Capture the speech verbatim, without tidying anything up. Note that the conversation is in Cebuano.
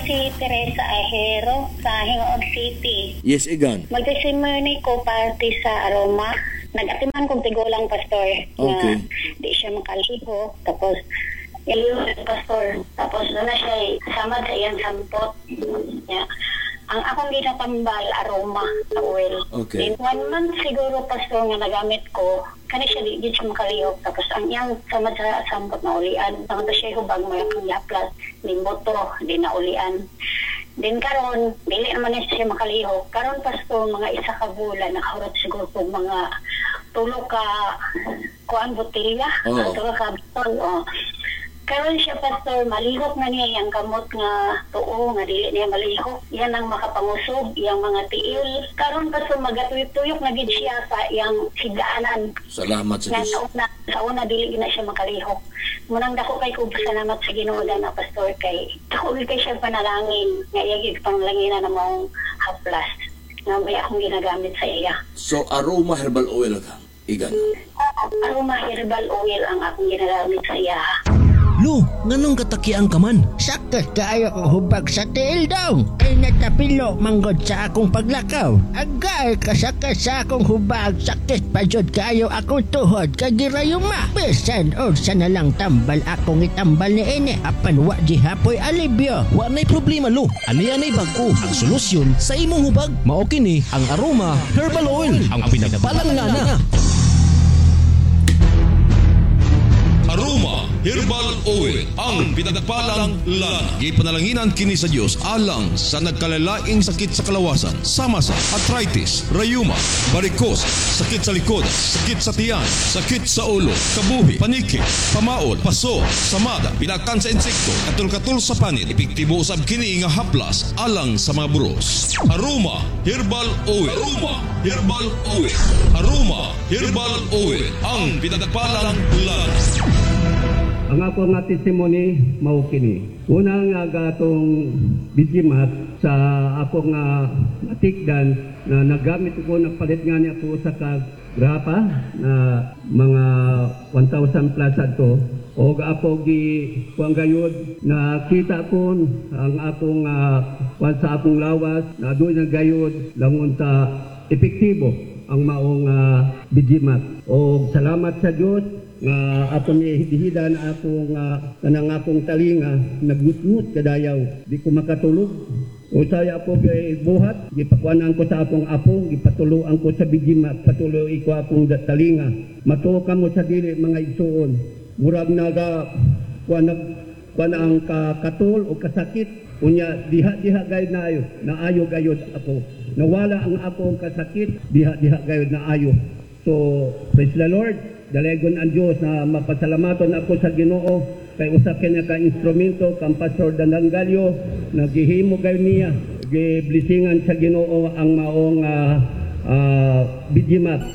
si Teresa Ahero sa Gingoog City. Yes, Igan. Mag-testimony ko parte sa aroma. Nag-atiman kong tigulang pastor Okay. nga di siya makalihok. Tapos, iliw pastor. Tapos doon na siya eh, samad sa iyang sampot. Yeah. Ang akong ginatambal, aroma sa oil. Okay. Then one month siguro, pastor, nga nagamit ko, kani siya di, di siya makalihok. Tapos ang iyang samad sa sampot na ulian. Tama siya hubag mo yung yaplas, din boto, di na ulian. Then karon dili naman na siya makalihok. Karon pastor, mga isa ka bulan, nakahurot siguro kog mga tulo ka kuan botelya, Oo. tulo ka botol, oh. Karon siya pastor, malihok na niya iyang kamot nga tuo nga dili niya malihok. Yan ang makapangusog, iyang mga tiil. Karon pastor, magatuyok-tuyok na gid siya sa iyang higaanan. Salamat sa Nga Diyos. sa una, sa una dili gid na siya makalihok. Munang dako kay kog salamat sa Ginoo na pastor kay dako gid kay siya panalangin nga iya gid panglanginan na maong haplas nga may akong ginagamit sa iya. So, aroma herbal oil ka, Igan. Aroma herbal oil ang akong ginagamit sa iya. Lo, nganong katakiang ka man? Sakit kaayo ko hubag sa tiil daw. Ay natapilo manggod sa akong paglakaw. Agay kasakit sa akong hubag. Sakit pa jud kaayo akong tuhod kay girayuma. Bisan unsa na lang tambal akong itambal ni ini. Apan wa gihapoy alibyo. Wa na'y problema lo. Ani-anay bag-o ang solusyon sa imong hubag. Mao kini ang Aroma Herbal Oil, ang pinagpalang lana. Aroma Herbal Oil, ang pinagpalang lana. Gipanalanginan kini sa Dios alang sa nagkalalaing sakit sa kalawasan, sama sa arthritis, rayuma, varicose, sakit sa likod, sakit sa tiyan, sakit sa ulo, kabuhi, paniki, pamaol, paso, samada, pilakan sa insekto, katul-katul sa panit. Epektibo usab kini nga haplas alang sa mga buros. Aroma Herbal Oil. Aroma Herbal Oil. Aroma Herbal Oil, ang pinagpalang lana. Ang ako nga testimony mao kini. Una nga gatong bijimat sa ako nga matikdan na nagamit ko nagpalit nga niya ko sa ka grapa na mga one thousand plus adto og ako gi kuang gayud na kita ko ang akong uh, kuan sa akong lawas na doon na gayud langon ta epektibo ang maong uh, bijimat. Og salamat sa Dios nga ako ni hidihidan akong uh, kanang akong talinga nagnutnut kadayaw di ko makatulog. Usay ako kay buhat gipakuanan ko sa akong apo gipatuloan ko sa bijimat patuloy ko akong talinga. Matuo kamo sa dili mga igsuon murag naga kuan nag kuan ang katul o kasakit unya diha-diha gayud naayo naayo gayud ako nawala ang akong kasakit diha-diha gayud naayo. So praise the Lord. Dalegon ang Dios na mapasalamaton ako sa Ginoo kay usa kini ka instrumento kang Pastor Dandanggalyo nagihimo gayud niya giblesingan sa Ginoo ang maong uh, uh, bijimat.